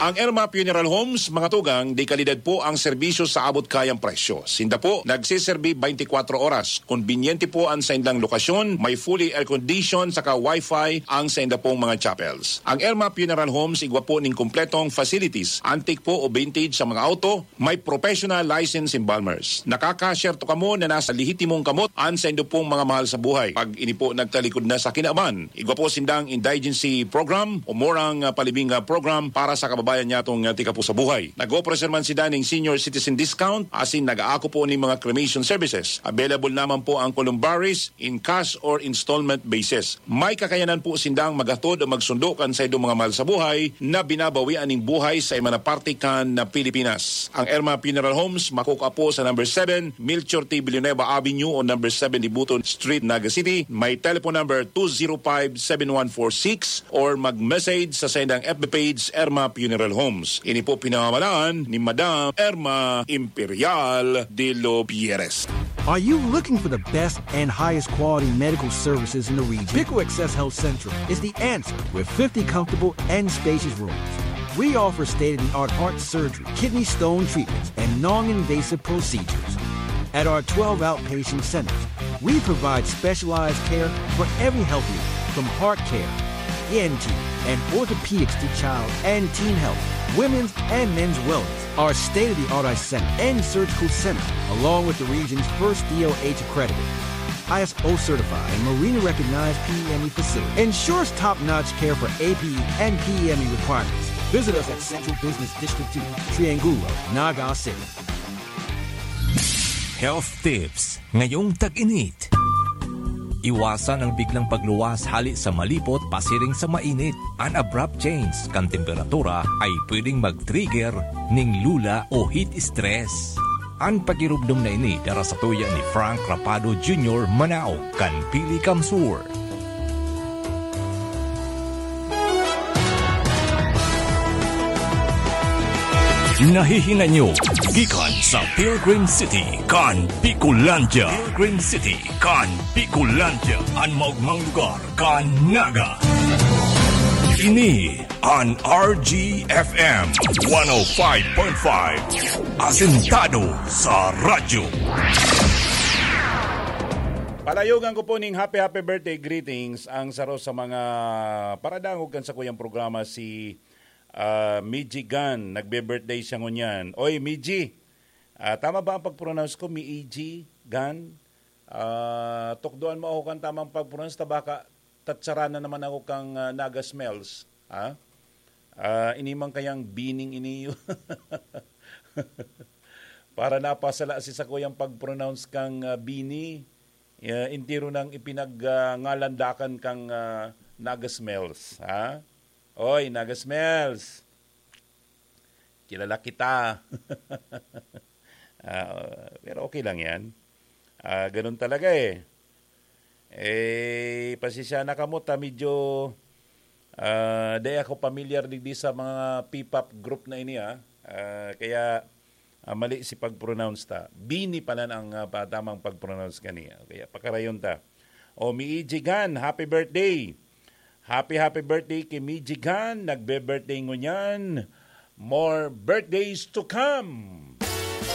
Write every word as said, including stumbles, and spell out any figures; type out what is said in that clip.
Ang Irma Funeral Homes, mga tugang, de kalidad po ang serbisyo sa abot kayang presyo. Sinda po nagseserbi twenty-four oras. Konbinyente po ang saindang lokasyon, may fully air-conditioned saka wifi ang sainda pong mga chapels. Ang Irma Funeral Homes igwa po ning kompletong facilities, antique po o vintage sa mga auto, may professional license embalmers. Nakaka-share to kamo na nasa lehitimong kamot ang saindo pong mga mahal sa buhay. Pag ini po nagtalikod na sa kinaban, igwa po sindang indigency program o murang, ah, palibing, ah, program para sa kababayan niya tong, ah, tika po sa buhay. Nag-offer man sila ning senior citizen discount, asin nag-aako po ning mga cremation services. Available naman po ang columbaries in cash or installment basis. May kakayanan po sindang maghatod o magsundo kan saindong mga mahal sa buhay na binabawian ning buhay sa iba na parte kan na Pilipinas. Ang Irma Funeral Homes makukua po sa number seven Melchor T. Villanueva Avenue o number seven Dibuton Street, Naga City. May telephone number two zero five seven one four six or mag-message sa saindang F B page, Irma Funeral Homes. Ini po pinamamalaan ni Madam Irma Imperial de los Pierres. Are you looking for the best and highest quality medical services in the region? Pico Access Health Central is the answer with fifty comfortable and spacious rooms. We offer state-of-the-art heart surgery, kidney stone treatments, and non-invasive procedures. At our twelve outpatient centers, we provide specialized care for every health need, from heart care, E N T, and orthopedics to child and teen health, women's and men's wellness. Our state-of-the-art eye center and surgical center, along with the region's first D O H accredited, I S O certified, and Marina recognized P E M E facility, ensures top-notch care for A P E and P E M E requirements. Visit us at Central Business District two, Triangulo, Naga City. Health tips ngayong tag-init. Iwasan ang biglang pagluwas hali sa malipot pasiring sa mainit. An abrupt change kan temperatura ay pwedeng mag-trigger ning lula o heat stress. An pagiromdom na ini dara sa tuya ni Frank Rapado Junior, Manao, kan Pili Kamsur. Nahihinanyo gikan sa Pilgrim City kan Bicolandia. Pilgrim City kan Bicolandia, an maogmang lugar kan Naga. Ini an R G F M one oh five point five, asentado sa radyo. Palayogan ko po ning happy, happy birthday greetings ang saro sa mga paradangog kan sakuyang programa, si, ah, Miji Gan. Nagbe-birthday siya ngunyan. Oy, Miji, ah, tama ba ang pag-pronounce ko? Miji Gan? Ah, tukdoan mo ako kan tamang pag-pronounce, ta baka tatsaranan naman ako kang, ah, Naga Smells, ha? Ah, ini man kayang Bining ini. Para napasala si sakuyang pag-pronounce kang, ah, Bini, ah, entero nang ipinag-, ah, ngalandakan kang, ah, Naga Smells, ha? Oy, Naga Smells! Kilala kita. Ah, pero okay lang yan. Ah, ganun talaga eh. Eh, pasensya na kamo ta medyo, ah, di ako pamilyar digdi sa mga P-pop group na ini, ah. Ah, kaya, ah, mali si pag-pronounce ta. Bini pala ang, ah, pa-, tamang pag-pronounce kani. Kaya pakarayon ta. O, Miiji Gan, happy birthday! Happy, happy birthday ki Miiji Gan. Nagbe-birthday ngunyan. More birthdays to come.